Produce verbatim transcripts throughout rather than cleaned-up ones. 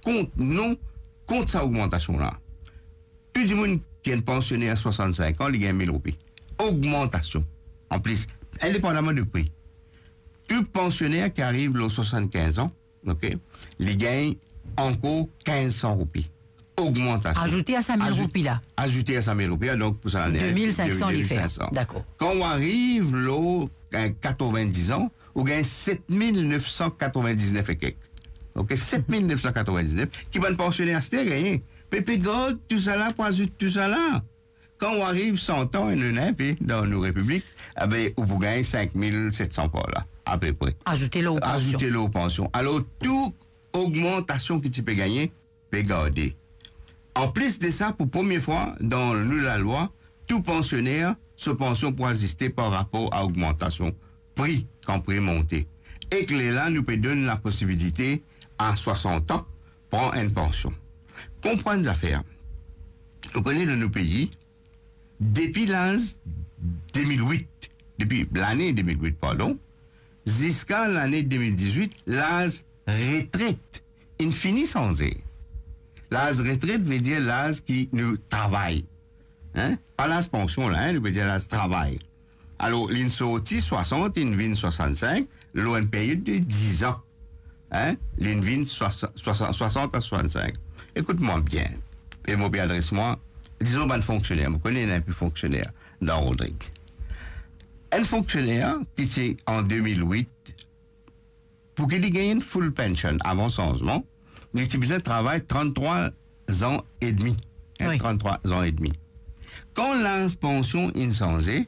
kont, non, kont sa ogmantasion la. Tou dimoun ki enn pansioner a swasann-sink an, li gagn mil roupi. Ogmantasion. Anplis, indepandaman de pri. Tou pansioner ki ariv lor swasann-kinz an, ok, li gagn ankor kinz san roupi. Ogmantasion. Azoute a sa mil roupi la. Azoute a sa mil roupi la, donk pou sa lane, de mil sink san li fer. De mil sink san. Dakor. Kan ou ariv lor, eh, katrevin-diz an, ou gagn set mil nef san katrevin-diz-nef ekek. Ok, set mil nef san katrevin-diz-nef, ki bann pansioner aster gagne. Pe, pe gard tousala pou azout tousala. Kan ou ariv san an, ena inpe dan nou repiblik, abe, ou pou gagn sink mil set san par la, apepre. Azoute lor pansion. Azoute lor pansion. Alor, tou ogmantasion ki ti pe gagne, pe garde. Anplis de sa, pou premie fwa dan nou lalwa, tou pansioner, so pansion pou aziste par rapor a ogmantasion pri, kan pri monte. Ek lerla, nou pe donn laposibilite a swasant an, pran enn pansion. Konpran zafer. Ou kone dan nou pei, depi laz de mil wit, depi lane de mil wit, pardon, ziska lane de mil dizwit, laz retret inn fini sanze. Laz retret ve dir laz ki nou travay. Hein? Pa laz pansion la, hein, nou pe dir laz travay. Alor, li'nn sorti swasant, li'nn vinn swasann-sink, lor enn period de diz an. Hein? Li'nn vinn swasa-, swasa-, swasant a swasann-sink. Ekout mwa bien. E mo pe adres mwa, dizon, bann fonksioner. Mo kone ena inpe fonksioner dan Rodrig. Enn fonksioner ki ti an de mil wit, pou ki li gagn enn full pension avan sanzman, li ti bizin travay tranntrwa zan edmi. Hein, wi. Tranntrwa zan edmi. Kan laz pansion inn sanze,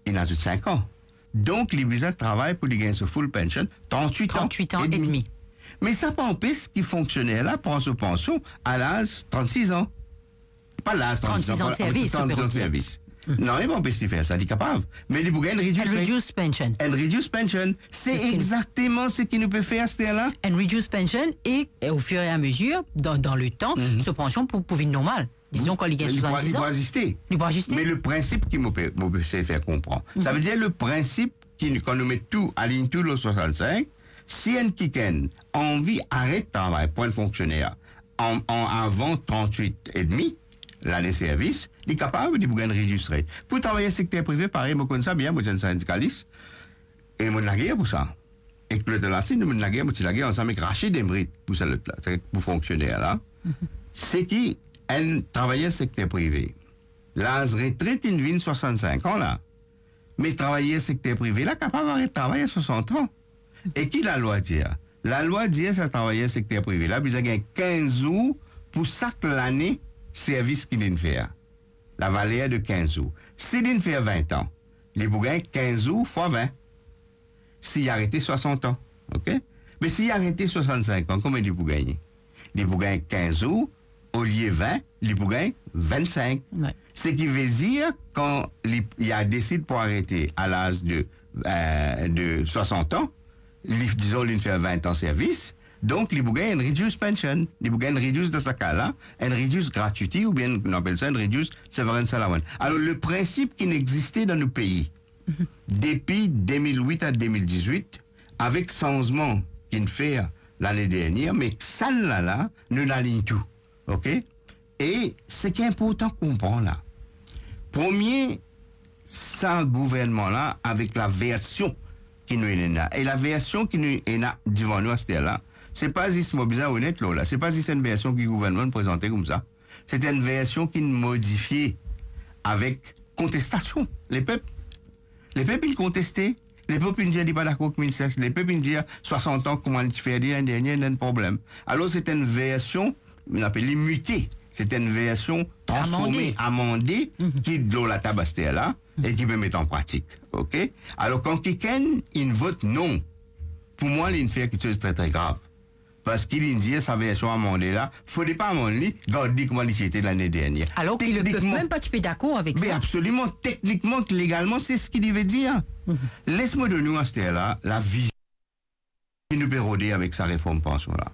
inn azout sink an. Donk, li bizin travay pou li gagn so full pension, trannwit an edmi. Trannwit an edmi. Me sa pa anpes ki fonksioner la pran so pansion a laz trannsis an. Pa laz trannsis an, trannsis an de servis, trannsis an de servis. Non, li pa anpes li fer sa, li kapav. Me li pou gagn enn reduced, enn reduced pension. Enn reduced pension. Se exakteman seki nou pe fer aster la. Enn reduced pension e, e au fur et à mesure, dan, dan le tan, so pansion pou, pou vinn normal. Dizon, kan li gagn swasanndis an, li pou aziste. Li pou aziste. Me le prinsip ki mo pe, mo pe sey fer konpran. Sa ve dir le prinsip ki, kan nou met tou, align tou lor swasann-sink, si enn kikenn anvi aret travay pou enn fonksioner an, an avan trannwit edmi lane servis, li kapav, li pou gagn reduced rate. Pou travayer sekter prive, parey, mo konn sa bien, mo ti enn sindikalis, e mo'nn lager pou sa. Ek lot la, si nou, mo'nn lager, mo ti lager ansam ek Rachid Emrit pou sa lot la, sa pou fonksioner la. Seki enn travayer sekter prive, laz retret inn vinn swasann-sink an la, me travayer sekter prive la kapav aret travay a swasant an. E ki lalwa dir? Lalwa dir sa travayer sekter prive la bizin gagn kinz zour pou sak lane servis ki li'nn fer. Lavaler de kinz zour. Si li'nn fer vin an, li pou gagn kinz zour fwa vin. Si li arete swasant an, ok? Me si li arete swasann-sink an, konbien li pou gagne? Li pou gagn kinz zour, olie vin, li pou gagn vennsink. Wi. Seki ve dir, kan li, li a desid pou arete a laz de, eh, de swasant an, li, dizon, li'nn fer vin an servis, donk li pou gagn enn reduced pension, li pou gagn enn reduced, dan sa ka la, enn reduced gratuity, oubien nou apel sa enn reduced severance allowance. Alor, le prinsip ki'nn existe dan nou pei, depi de mil wit a de mil dizwit, avek sanzman ki'nn fer lane dernier, me sannla la, nou'nn align tou. Ok? E seki inportan konpran la, premie, sa gouvernman la, avek laversion ki nou ena, e laversion ki nou ena divan nou aster la, se pa zis, mo bizin onet lor la, se pa zis enn version ki gouvernman prezante koumsa. Se enn version ki'nn modifie avek kontestasion. Lepep, lepep inn konteste. Lepep inn dir li pa dakor ek mil sink san. Lepep inn dir swasant an, kouma li ti fer li lane dernier, ena enn problem. Alor, se enn version, nou apel li mite. Se enn version transforme, amande, ki lor latab aster la, e ki pe met an pratik. Ok? Alor, kan kikenn inn vot non, pou mwa, li'nn fer kiksoz tre, tre grav. Parski li'nn dir sa version amande la, fode pa amann li, gard li kouma li ti ete lane dernier. Alor ki lepep mem pa ti pe dakor avek sa. Be absoliman, teknikman, legalman, se seki li ve dir. Les mo donn ou aster la, lavi ki nou pe rode avek sa reform pansion la.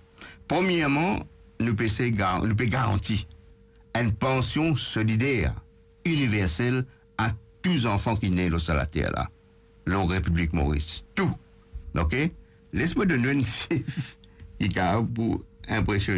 Premierman, nou pe sey gar-, nou pe garanti enn pansion solider, iniversel a tou zanfan ki ne lor sa later la, lor Repiblik Moris. Tou. Ok? Les mo donn ou enn sif ki kapav pou inpresionn ou.